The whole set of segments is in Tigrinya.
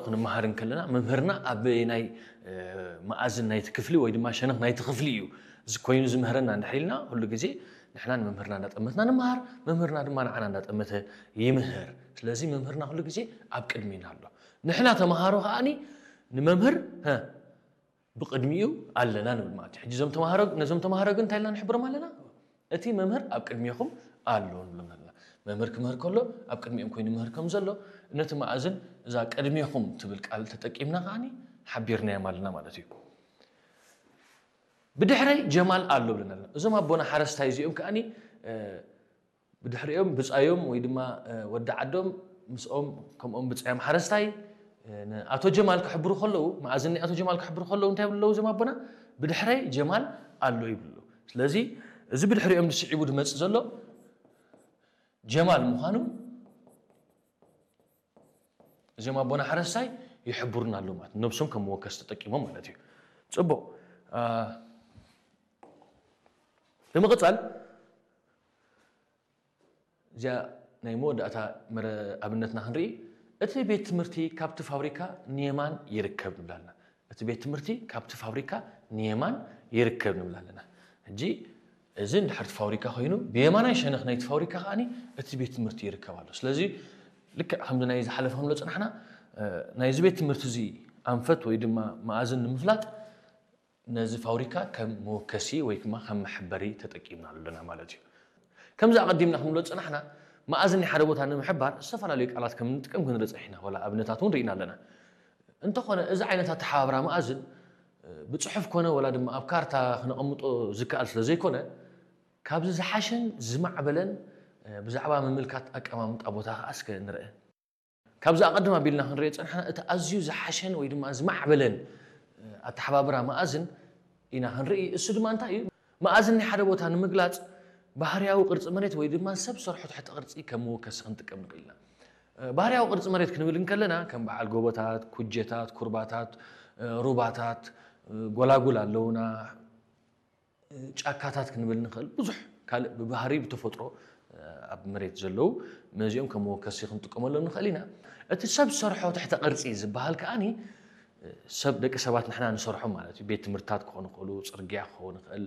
ክንመሃር እንከለና መምህርና ኣብ ናይ መኣዝን ናይቲ ክፍሊ ወይ ድማ ሸነኽ ናይቲ ክፍሊ እዩ እዚ ኮይኑ ዝምህረና እንድሕር ኢልና፣ ኩሉ ግዜ ንሕና ንመምህርና እንዳጠመትና ንመሃር፣ መምህርና ድማ ንዓና እንዳጠመተ ይምህር። ስለዚ መምህርና ኩሉ ግዜ ኣብ ቅድሚና ኣሎ። ንሕና ተምሃሮ ከኣኒ ንመምህር ብቅድሚኡ ኣለና ንብል ማለት እዩ። ሕጂ እዞም ተምሃሮ ነዞም ተምሃሮ ግን እንታይ ኢልና ንሕብሮም ኣለና? እቲ መምህር ኣብ ቅድሜኹም ኣሎ ንብሎም ኣለና። መምህር ክምህር ከሎ ኣብ ቅድሚኦም ኮይኑ ምህር ከም ዘሎ፣ ነቲ መኣዝን እዛ ቅድሜኹም ትብል ቃል ተጠቂምና ከኣኒ ሓቢርናዮም ኣለና ማለት እዩ። ብድሕረይ ጀማል ኣሎ ብለና ኣለና። እዞም ኣቦና ሓረስታይ እዚኦም ከኣኒ ብድሕሪኦም ብጻዮም ወይ ድማ ወዲ ዓዶም ምስኦም ከምኦም ብጻዮም ሓረስታይ ኣቶ ጀማል ክሕብሩ ከለዉ፣ መኣዝኒ ኣቶ ጀማል ክሕብሩ ከለዉ እንታይ ብለዉ እዞም ኣቦና? ብድሕረይ ጀማል ኣሎ ይብሉ። ስለዚ እዚ ብድሕሪኦም ዝስዒቡ ዝመጽእ ዘሎ ጀማል ምዃኑ እዚኦም ኣቦና ሓረስታይ ይሕብሩና ኣለዉ ማለት ነብሶም ከም መወከስ ተጠቂሞም ማለት እዩ። ጽቡቕ። ብምቕጻል እዚኣ ናይ መወዳእታ ኣብነትና ክንርኢ፣ እቲ ቤት ትምህርቲ ካብቲ ፋብሪካ ንየማን ይርከብ ንብላልና። እቲ ቤት ትምህርቲ ካብቲ ፋብሪካ ንየማን ይርከብ ንብላልና። ሕጂ እዚ እንድሕር ፋብሪካ ኮይኑ ብየማናይ ሸነኽ ናይቲ ፋብሪካ ከኣ እቲ ቤት ትምህርቲ ይርከብ ኣሎ። ስለዚ ልክዕ ከምዚ ናይ ዝሓለፈ ክንብሎ ፅናሕና ናይዚ ቤት ትምህርቲ እዚ ኣንፈት ወይ ድማ መኣዝን ንምፍላጥ ነዚ ፋብሪካ ከም መወከሲ ወይ ድማ ከም መሐበሪ ተጠቂምናሉ ኣለና ማለት እዩ። ከምዚ ኣቐዲምና ክንብሎ ዝጸናሕና፣ መኣዝን ናይ ሓደ ቦታ ንምሕባር ዝተፈላለዩ ቃላት ከም እንጥቀም ክንርኢ ጸኒሕና፣ ዋላ ኣብነታት እውን ርኢና ኣለና። እንተኾነ፣ እዚ ዓይነት ኣተሓባብራ መኣዝን፣ ብጽሑፍ ኮነ ዋላ ድማ ኣብ ካርታ ክነቐምጦ ዝከኣል ስለ ዘይኮነ፣ ካብዚ ዝሓሸን ዝማዕበለን ብዛዕባ ምምልካት ኣቀማምጣ ቦታ ከኣ እስከ ንርአ። ካብዚ ኣቐድም ኣቢልና ክንሪኦ ዝጸናሕና እቲ ኣዝዩ ዝሓሸን ወይ ድማ ዝማዕበለን ኣተሓባብራ መኣዝን ኢና ክንርኢ። እሱ ድማ እንታይ እዩ? መኣዝን ናይ ሓደ ቦታ ንምግላጽ ባህርያዊ ቅርጺ መሬት ወይ ድማ ሰብ ሰርሖ ትሕተ ቅርጺ ከም መወከሲ ክንጥቀም ንኽእል ኢና። ባህርያዊ ቅርጺ መሬት ክንብል እንከለና ከም በዓል ጎቦታት፣ ኩጀታት፣ ኩርባታት፣ ሩባታት፣ ጎላጉል ኣለውና። ጫካታት ክንብል ንኽእል፣ ብዙሕ ካልእ ብባህሪ ብተፈጥሮ ኣብ መሬት ዘለዉ ነዚኦም ከም መወከሲ ክንጥቀመሎም ንኽእል ኢና። እቲ ሰብ ሰርሖ ትሕተ ቅርጺ ዝበሃል ከኣኒ ሰብ ደቂ ሰባት ንሕና ንሰርሖም ማለት እዩ። ቤት ትምህርትታት ክኾኑ ይኽእሉ፣ ጽርግያ ክኸውን ይኽእል፣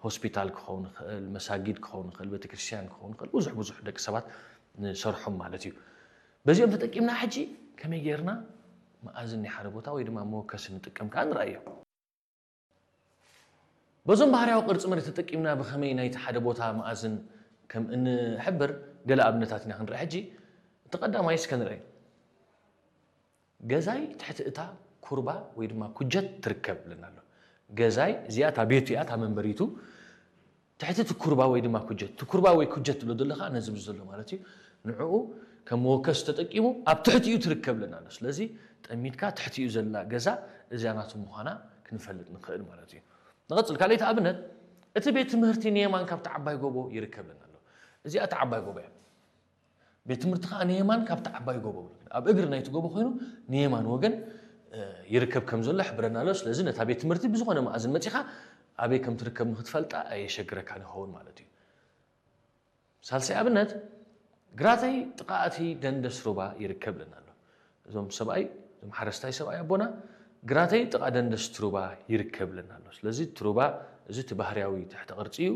ሆስፒታል ክኸውን ይኽእል፣ መሳጊድ ክኸውን ይኽእል፣ ቤተክርስትያን ክኸውን ይኽእል፣ ብዙሕ ብዙሕ ደቂ ሰባት ንሰርሖም ማለት እዩ። በዚኦም ተጠቂምና ሕጂ ከመይ ጌርና መኣዝን ናይ ሓደ ቦታ ወይ ድማ መወከሲ ንጥቀም ከኣ ንርኣዮ። በዞም ባህርያዊ ቅርጺ መሬት ተጠቂምና ብኸመይ ናይቲ ሓደ ቦታ መኣዝን ከም እንሕብር ገለ ኣብነታት ኢና ክንርኢ። ሕጂ እቲ ቀዳማይ እስከ ንርኣይ። ገዛይ ትሕቲ እታ ኩርባ ወይ ድማ ኩጀት ትርከብ ብለና ኣሎ። ገዛይ እዚኣ እታ ቤቱ እያ፣ እታ መንበሪቱ ትሕቲ እቲ ኩርባ ወይ ድማ ኩጀት፣ እቲ ኩርባ ወይ ኩጀት ትብሎ ዘለኻ ነዚ ምስ ዘሎ ማለት እዩ። ንዕኡ ከም መወከሲ ተጠቂሙ ኣብ ትሕቲኡ ትርከብ ለና ኣሎ። ስለዚ ጠሚትካ ትሕቲኡ ዘላ ገዛ እዚኣ ናቱ ምዃና ክንፈልጥ ንኽእል ማለት እዩ። ንቐጽል፣ ካልኣይቲ ኣብነት፣ እቲ ቤት ትምህርቲ ንየማን ካብቲ ዓባይ ጎቦ ይርከብ ለና ኣሎ። እዚኣ እታ ዓባይ ጎቦ እያ። ቤት ትምህርቲ ከኣ ንየማን ካብቲ ዓባይ ጎቦ፣ ኣብ እግሪ ናይቲ ጎቦ ኮይኑ ንየማን ወገን ይርከብ ከም ዘሎ ይሕብረና ኣሎ። ስለዚ ነታ ቤት ትምህርቲ ብዝኾነ መኣዝን መጺኻ ኣበይ ከም ትርከብ ንክትፈልጣ ኣየሸግረካን ይኸውን ማለት እዩ። ሳልሳይ ኣብነት፣ ግራተይ ጥቓ እቲ ደንደስ ሩባ ይርከብ ለና ኣሎ። እዞም ሰብኣይ፣ እዞም ሓረስታይ ሰብኣይ ኣቦና፣ ግራተይ ጥቓ ደንደስ ሩባ ይርከብ ለና ኣሎ። ስለዚ እቲ ሩባ፣ እዚ እቲ ባህርያዊ ትሕተ ቅርጺ እዩ፣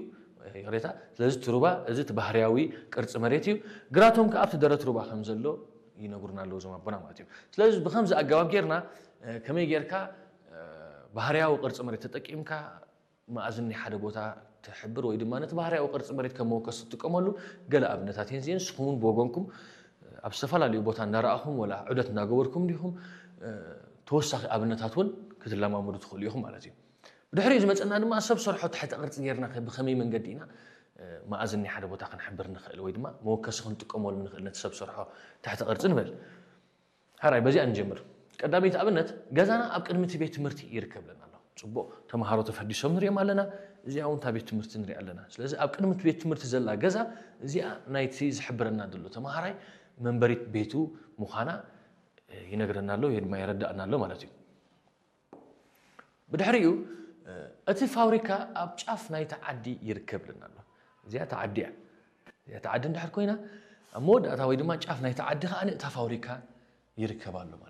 ይቕሬታ። ስለዚ እቲ ሩባ፣ እዚ እቲ ባህርያዊ ቅርጺ መሬት እዩ። ግራቶም ከኣ ኣብቲ ደረት ሩባ ከም ዘሎ ይነግሩና ኣለዉ እዞም ኣቦና ማለት እዩ። ስለዚ ብኸምዚ ኣገባብ ጌርና፣ ከመይ ጌርካ ባህርያዊ ቅርጺ መሬት ተጠቂምካ መኣዝን ናይ ሓደ ቦታ ትሕብር ወይ ድማ ነቲ ባህርያዊ ቅርጺ መሬት ከም መወከሲ ትጥቀመሉ ገለ ኣብነታት እየን እዚአን። ንስኹም እውን ብወገንኩም ኣብ ዝተፈላለዩ ቦታ እንዳረኣኹም ወላ ዑደት እንዳገበርኩም ዲኹም ተወሳኺ ኣብነታት እውን ክትለማመዱ ትኽእሉ ኢኹም ማለት እዩ። ብድሕሪኡ ዝመፀና ድማ ሰብ ሰርሖ ትሕተ ቅርፂ ጌርና ከ ብኸመይ መንገዲ ኢና መኣዝን ናይ ሓደ ቦታ ክንሕብር ንኽእል ወይ ድማ መወከሲ ክንጥቀመሉ ንኽእል ነቲ ሰብ ሰርሖ ትሕተ ቅርፂ ንበል። ሕራይ፣ በዚኣ ንጀምር። ቀዳመይቲ ኣብነት፣ ገዛና ኣብ ቅድሚ እቲ ቤት ትምህርቲ ይርከብ ለና ኣሎ። ጽቡቕ፣ ተምሃሮ ተፈዲሶም ንሪኦም ኣለና። እዚኣ እውን እታ ቤት ትምህርቲ ንሪኣ ኣለና። ስለዚ ኣብ ቅድሚ እቲ ቤት ትምህርቲ ዘላ ገዛ፣ እዚኣ ናይቲ ዝሕብረና ዘሎ ተምሃራይ መንበሪት ቤቱ ምዃና ይነግረና ኣሎ ወይ ድማ የረድኣና ኣሎ ማለት እዩ። ብድሕሪኡ እቲ ፋብሪካ ኣብ ጫፍ ናይቲ ዓዲ ይርከብ ለና ኣሎ። እዚኣ እታ ዓዲ እያ። እዚኣ እታ ዓዲ እንድሕር ኮይና ኣብ መወዳእታ ወይ ድማ ጫፍ ናይቲ ዓዲ ከኣ እታ ፋብሪካ ይርከብ ኣሎ ማለት እዩ።